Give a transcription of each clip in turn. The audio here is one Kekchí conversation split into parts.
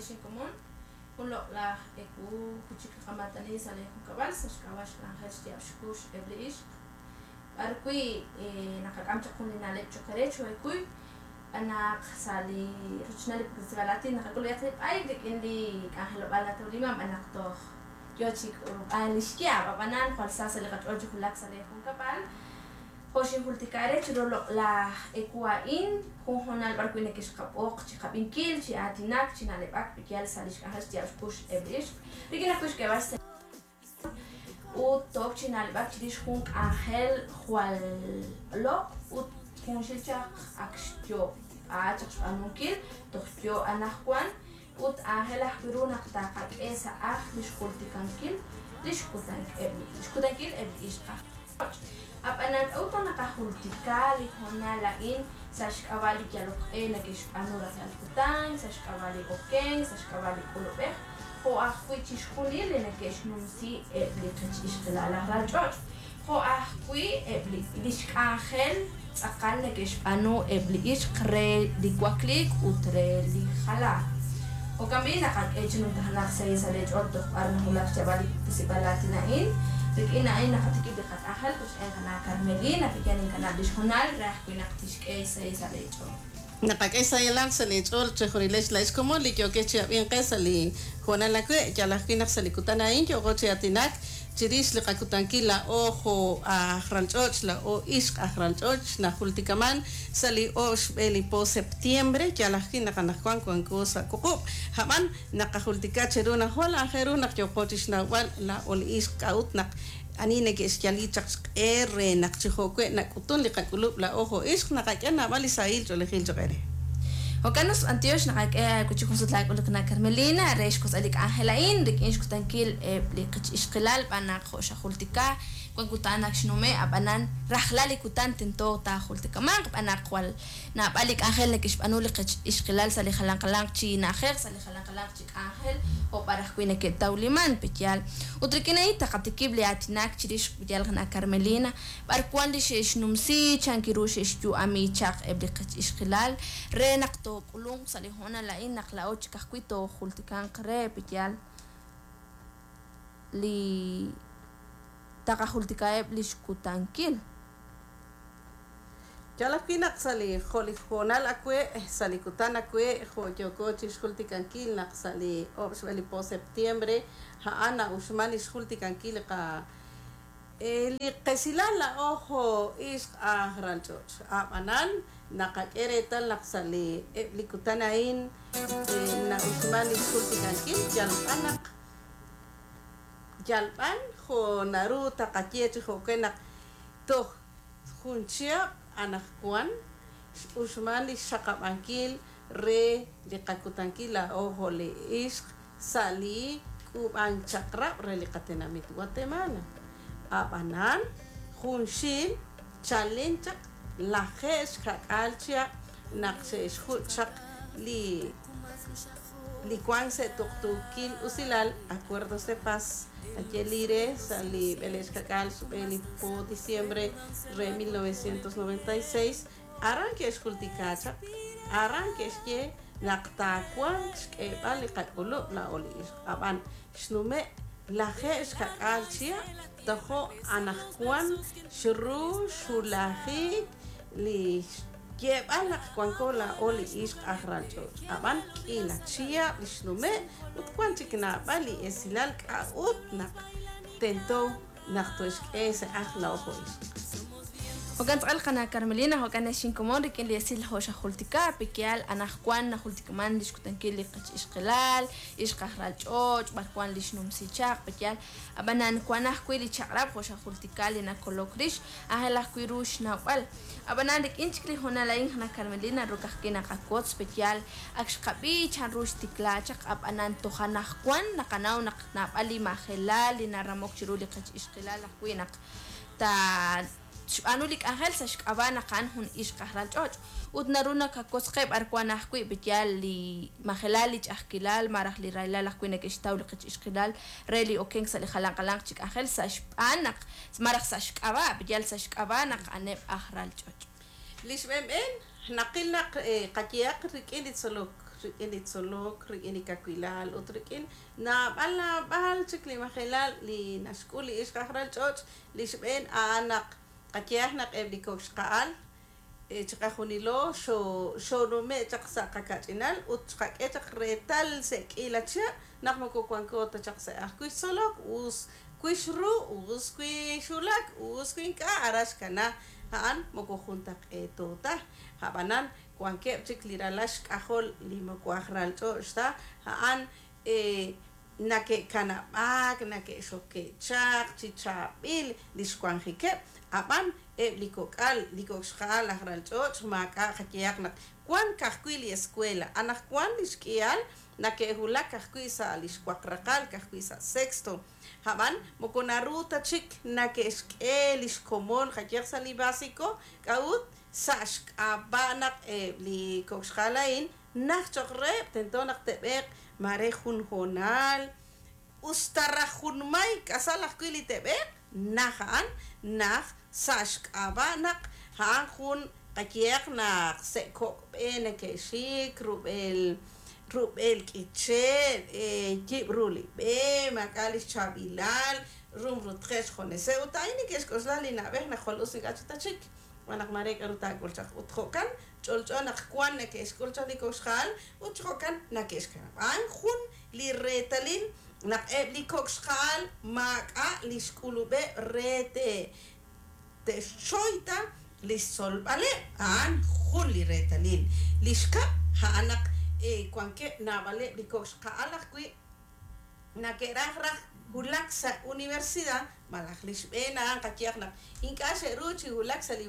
ex inkomon, jun loq'laj ewu wi' chik naqamaatani sa' lee junkab'al sa' xk'ab'a' xk'anjel xyaab' xkux eb' li ixq, b'ar wi' naqak'am chaq jun li na'leb' cho'q eere choohekuy, xb'aan naq sa' li rochochnal li puktesib'aal aatin naqak'ul b'ayaq li b'ayk rik'in li k'anjelob'aal natawliman b'an naq toj yoo chi k'ulub'an li xyaab', ab'anan jwal sa sa' li qach'ool chi wulak sa' lee junkab'al. Jo' xinjultika eere chiru loq'laj ewu a'in, jun hoonal b'ar wi' nekexqab'oq chi qab'inkil, chi aatinak, chi na'leb'ak yal sa' lix k'anjel xyaab' xkux eb' li ixq, rik'in ajwi' xk'eeb'al xse ut took chi na'leb'ak chirix jun k'anjel jwal loq' ut junxil chaq ak xyoob'a chaq xb'aanunkil toj yoo anajwan ut aajel ajwi' ru naq taqak'e sa' ajl li xjultikankil li xkutankil eb' li ixq aj ch'och'. Ab'anan k'a'ut naq naqajultika li hoonal a'in sa' xk'ab'a' li yalok q'e nake'xb'aanu rajlal kutan, sa' xk'ab'a' li okenk, sa' xk'ab'a' li k'ulub'ej, jo' ajwi' chixjunil li nake'xnumsi eb' li qech ixqilal aj ralch'och', jo' ajwi' eb' li li xk'anjel tz'aqal neke'xb'aanu eb' li ixq re li wakliik ut re li jalaak. Jo'kan b'i' naqak'e chi numtajenaq xsahil sa' leech'ool toj b'ar nawulak xyaab'al li puktesib'aal aatin a'in. Rik'in a'in naqatikib' li qak'anjel qochb'een qana' Carmelina, pe'yaal ninkanab' li xhoonal re ajwi' naq tixk'e xsahil sa' leech'ool. Naqak'e xsahilal sa' leech'ool chejunilex laa'ex komon li yookex chi ab'ink qe sa' li hoonal awe'. Yal ajwi' naq sa' li kutan a'in yooqo chi aatinak chirix li qakutankil laa'o jo' aj ralch'och', laa'o ixq aj ralch'och' najultikaman sa' li oob' xb'e li po septiembre, yal ajwi' naq anaqwan wanko sa' wuqub'. Hab'an naqajultika cheru naq jwal aajel ru naq yooqo chixnawb'al laa'o li ixq k'a'ut naq Ani neke'xyali chaq xq'e re naq chi jo'we' nak'utun li qak'ulub' laa'o jo' ixq, naqak'e naab'al li sahil ch'oolejil cho'q eere. Jo'kan us, b'antiox naqak'e aawe chi jun sut laak'uluk na Carmelina re xk'osb'al li k'anjel a'in rik'in xkutankil eb' li qech ixqilal b'an naq jo' xajultika wan kutan ak xnume' ab'anan rajlal li kutan tento taajultikamanq b'an naq jwal naab'al li k'anjel neke'xb'aanu li qech ixqilal sa' li jalan jalanq chi na'ajej sa' li jalan jalanq chi k'anjel jo' b'ar ajwi' neke'tawliman, pe'yaal? Ut rik'in a'in taqatikib' li aatinak chirix xb'eyal qana' Carmelina, b'ar wan li xe'xnumsi, chan ru xe'xyu'ami chaq eb' li qech ixqilal, re naq took'ulunq sa' li hoonal a'in naq laa'o chik ajwi' toojultikanq re, pe'yaal? Li taqajultikaheb' lix kutankil. Yaal ajwi' naq sa' li jo' li hoonal awe', sa' li kutan awe', jo' yooko chixjultikankil naq sa' li oob' xb'e li po septiembre, a'an na'uxman li xjultikankil li qa li qesilal laa'o jo' ixq aj ralch'och'. A'b'anan, naqak'e reetal naq sa' li eb' li kutan a'in na'uxman li xjultikankil yal b'an naq yal b'an jo' naru taqaye chi jo'kan naq toj Jun chihab' anaqwan x'uxman li xxaqab'ankil re li qakutankil laa'o jo' li ixq sa' li k'uub'ank chaq'rab' re li qatenamit Guatemala. Ab'anan, junxil chalen chaq lajeeb' xka'k'aal chihab' naq xe'xjuch' chaq li li wank sa' tuqtuukil usilal, acuerdos de paz, naye li re sa' li b'eleeb' xka'k'aal xb'e li po diciembre re 1996, aran ke'xjultika chaq, aran ke'xye naq taawanq xk'eeb'al li qak'ulub' laa'o li ixq, ab'an xnume' lajeeb' xka'k'aal chihab' tojo' anaqwan xru xhulajik li xyeeb'al naq wanko laa'o li ixq aj ralch'och', ab'an k'iila chihab' li xnume' ut wan chik naab'al li esilal k'a'ut naq tento naq toxk'e sa' ajl laa'o jo' ixq. Jo'kan tz'aqal qana' Carmelina, jo'kan ex inkomon rik'in li esil jo' xajultika, pe'yaal anaqwan najultikaman li xkutankil li qech ixqilal, ixq aj ralch'och', b'ar wan li xnumsi chaq, pe'yaal ab'anan wan ajwi' li chaq'rab' jo' xajultika li nakolok rix, aajel ajwi' ru xnawb'al. Ab'anan rik'in chik li hoonal a'in qana' Carmelina ruk ajwi' naqawotz pe'yaal ak xqab'i chan ru xtikla chaq, ab'anan toj anaqwan naqanaw naq naab'al li majelal li naramok chiru li qech ixqilal ajwi' naq ta xb'aanu li k'anjel sa' xk'ab'a' naq a'an jun ixq aj ralch'och' ut naru nakawotz qe b'ar wan ajwi' pe'yaal li majelal li ch'a'ajkilal malaj li rahilal ajwi' neke'xtaw li qech ixqilal re li okenk sa' li jalan jalanq chi k'anjel sa' xb'aan naq malaj sa' xk'ab'a' pe'yaal sa' xk'ab'a' naq a'aneb' aj ralch'och'. Li xb'eenb'een Naqil naq qayehaq rik'in li tzolok, rik'in li tzolok, rik'in li kawilal ut rik'in naab'al naab'al chik li majelal li naxk'ul li ixq aj ralch'och', li xb'een a'an naq qayehaq naq eb' li kok' xqa'al chiqajunilo xoonume' chaq sa' qakach'inal ut xqak'e chaq reetal sa' k'iila chihab' naq moko wanko ta chaq sa' ajwi' xtzolok, us wi xru, us wi xwulak, us wi ink'a' aran xkana, a'an moko juntaq'eeto ta, ab'anan wankeb' chik li ralal xk'ajol li moko aj ralch'och' ta, a'an nake'kanab'aak, nake'xoke' chaq chi chaab'il li xwanjikeb', ab'an eb' li kok'al, li kok' xqa'al aj ralch'och' maak'a' qayehaq naq wan ka'ajwi' li escuela, anaqwan li xk'ihal nake'wulak ka'ajwi' sa' li xwaq raqal, ka'ajwi' sa' sexto, ab'an moko naru ta chik nake'xk'e li xkomon qayehaq sa' li básico, k'a'ut sa' xk'ab'a' naq eb' li kok' xqa'al a'in najt cho'q reheb', tento naq te'b'eeq mare jun hoonal, us ta raj junmay k'asal ajwi' li te'b'eeq, naj a'an, naj sa' xk'ab'a' naq a'an jun qayehaq naq sa' kok' b'e nake'xik, rub'el rub'el k'iche', yib' ru li b'e, maak'a' li xchaab'ilal, rumrutqeb' xjuneseb' ut a'in neke'xk'oxla li na'b'ej naq jwal us ink'a' chik ta chik, xb'aan naq mare k'aru taak'ul chaq ut jo'kan ch'olch'o naq wan nake'xk'ul chaq li kok' xqa'al ut chi jo'kan nake'xkanab'. A'an jun li reetalil naq eb' li kok' xqa'al maak'a' li xk'ulub'eb' re te'xchoy ta li xtzolb'aleb', a'an jun li reetalil. Li xkab' a'an naq wankeb' naab'aleb' li kok' xqa'al ajwi' nake'raj raj wulak sa' universidad malaj li xb'een a'an qayehaq naq ink'a' xe'ru chi wulak sa' li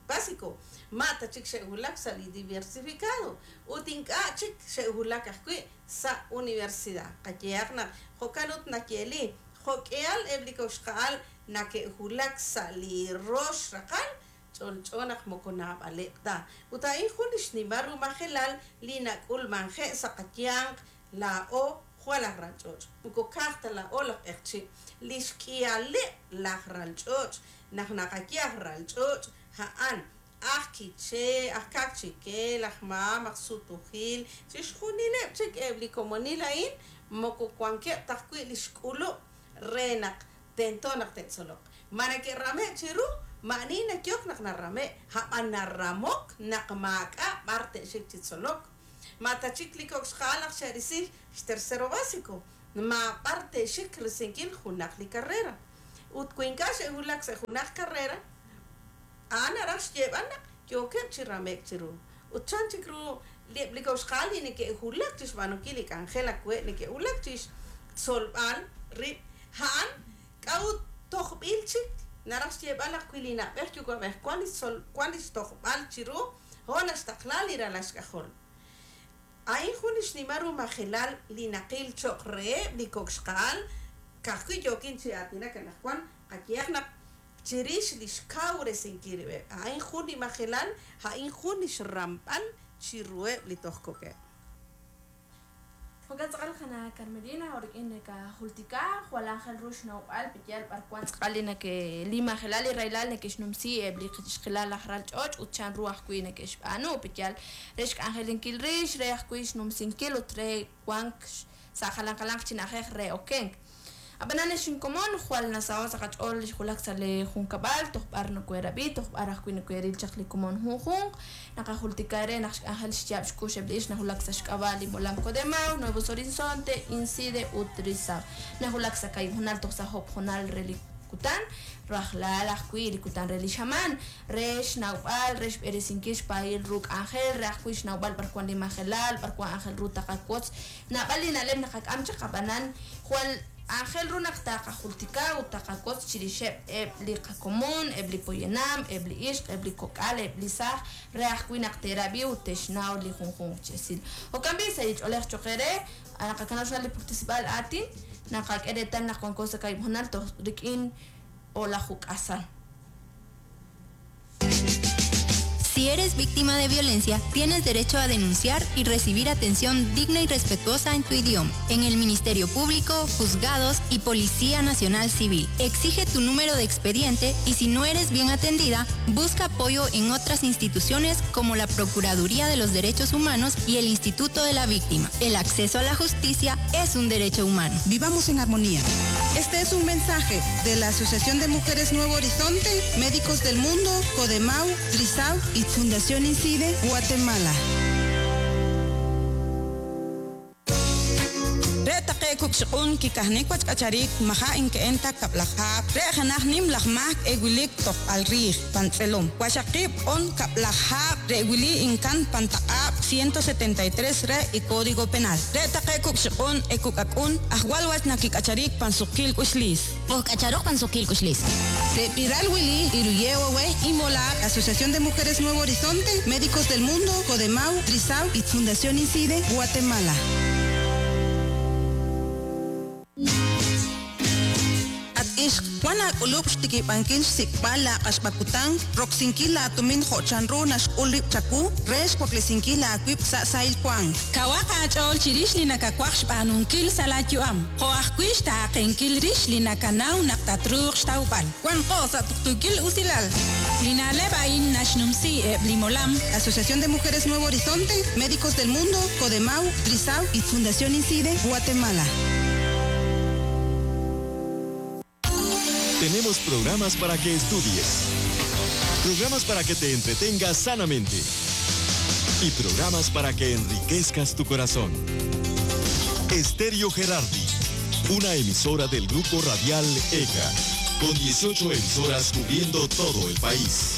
básico, ma' ta chik xe'wulak sa' li diversificado ut ink'a' chik xe'wulak ajwi' sa' universidad. Qayehaq naq jo'kan ut nayeeli jo'k'ihal eb' li kok' xqa'al nake'wulak sa' li rox raqal, ch'olch'o naq moko naab'aleb' ta. Ut a'in jun li xnimal ru majelal li nak'ulmanje' sa' qayanq laa'o jwal aj ralch'och', moko ka'aj ta laa'o laj q'eqchi', li xk'ihaleb' laj ralch'och' naq naqaye aj ralch'och' a'an aj Quiché, aj Kaqchikel, aj Mam, aj Sutujil, chixjunileb' chik eb' li komonil a'in moko wankeb' ta ajwi' li xk'ulub' re naq tento naq te'tzoloq. Ma nake'rame' chiru, ma'ani nayok naq narame', ab'an naramok naq maak'a' b'ar te'xik chi tzolok. Ma ta chik li kok' xqa'al naq xe'risi xtercero básico, ma b'ar te'xik risinkil junaq li carrera. Ut wi ink'a' xe'wulak sa' junaq carrera, a'an naraj xyeeb'al naq yookeb' chi rame'k chiru. Ut chan chik ru eb' li kok' xqa'al li neke'wulak chi xb'aanunkil li k'anjel awe', neke'wulak chi xtzolb'al rib', a'an k'a'ut tojb'il chik, naraj xyeeb'al naq wi li na'b'ej yuwa'b'ej wan li xtzol wan li xtojb'al chiru, jo' naxtaqla li ralal xk'ajol. A'in jun li xnimal ru majelal li naqil cho'q reheb' li kok' xqa'al, ka'ajwi' yookin chi aatinak anaqwan, qayehaq naq chirix li xkawresinkil rib'eb'. A'in jun li majelal, a'in jun li xramb'al chiruheb' li toj kok'eb'. Jo'kan tz'aqal qana' Carmelina, rik'in nakajultika jwal aajel ru xnawb'al pe'yaal b'ar wan tz'aqal li nake li majelal li rahilal neke'xnumsi eb' li xqilal laj ralch'och' ut chanru ajwi' neke'xb'aanu pe'yaal re xk'anjelinkil rix, re ajwi' xnumsinkil ut re wank sa' jalan jalanq chi na'ajej re okenk. Ab'anan ex inkomon jwal nasaho' sa' qach'ool li xwulak sa' li junkab'al, toj b'ar nokoherab'i, toj b'ar ajwi' nokoheril chaq li komon junjunq, naqajultika re naq xk'anjel xyaab' xkux eb' li ixq nawulak sa' xk'ab'a' li molam Codemau, Nuevos Horizonte, Incide ut Risab. Nawulak sa' kahib' hoonal toj sa' job' hoonal re li kutan, rajlal ajwi' li kutan re li xamaan, re xnawb'al, re xb'eresinkil xpaayil ru k'anjel, re ajwi' xnawb'al b'ar wan li majelal, b'ar wan aajel ru taqawotz. Naab'al li na'leb' naqak'am chaq ab'anan jwal aajel ru naq taqajultika ut taqawotz chirixeb' eb' li qakomon, eb' li poyanam, eb' li ixq, eb' li kok'al, eb' li saaj, re ajwi' naq te'rab'i ut te'xnaw li junjunq chi esil. Jo'kan b'i' sa' li ch'oolej cho'q eere, naqakanab' xna'leb' li puktesib'aal aatin, naqak'e reetal naq wanko sa' kahib' hoonal toj rik'in o'laju k'asal. Si eres víctima de violencia, tienes derecho a denunciar y recibir atención digna y respetuosa en tu idioma, en el Ministerio Público, juzgados y Policía Nacional Civil. Exige tu número de expediente y si no eres bien atendida, busca apoyo en otras instituciones como la Procuraduría de los Derechos Humanos y el Instituto de la Víctima. El acceso a la justicia es un derecho humano. Vivamos en armonía. Este es un mensaje de la Asociación de Mujeres Nuevo Horizonte, Médicos del Mundo, Codemau, Trisau y Fundación Incide, Guatemala. Re taqe' kukxiq'un kikajnik wach k'acharik maja' inke'en ta kab'lajab' re janaj nim laj mak ewilik tojb'al riij pan tz'elom waxaqib' on kab'lajab' re wili inkan pantaq'ab' 173 re y Código Penal re taqe' kukxiq'un ekuk'ak'un ajwal wach nakik'acharik pan suqil k'uxlis Ojk'acharoj pan suqil k'uxlis. Tepiral Willy, Iruyewe, Imola, Asociación de Mujeres Nuevo Horizonte, Médicos del Mundo, Codemau, Trisau y Fundación Incide, Guatemala. At ixq wan aak'ulub' xtikib'ankil xsik'b'al la q'axb'akutan roksinkil la tumin jo'chanru naxk'ul rib' chaku re xwaklesinkil aawib' sa' sahil wank. Kawaq aach'ool chirix li nakawaj xb'aanunkil sa' laayu'am. Jo' ajwi' xtaaqenkil rix li nakanaw naq tatruuq xtawb'al. Wanqo sa' tuqtuukil usilal. Li na'leb' a'in naxnumsi eb' li molam. Asociación de Mujeres Nuevo Horizonte, Médicos del Mundo, Codemau, Trisau y Fundación Incide, Guatemala. Tenemos programas para que estudies, programas para que te entretengas sanamente y programas para que enriquezcas tu corazón. Estéreo Gerardi, una emisora del grupo radial ECA, con 18 emisoras cubriendo todo el país.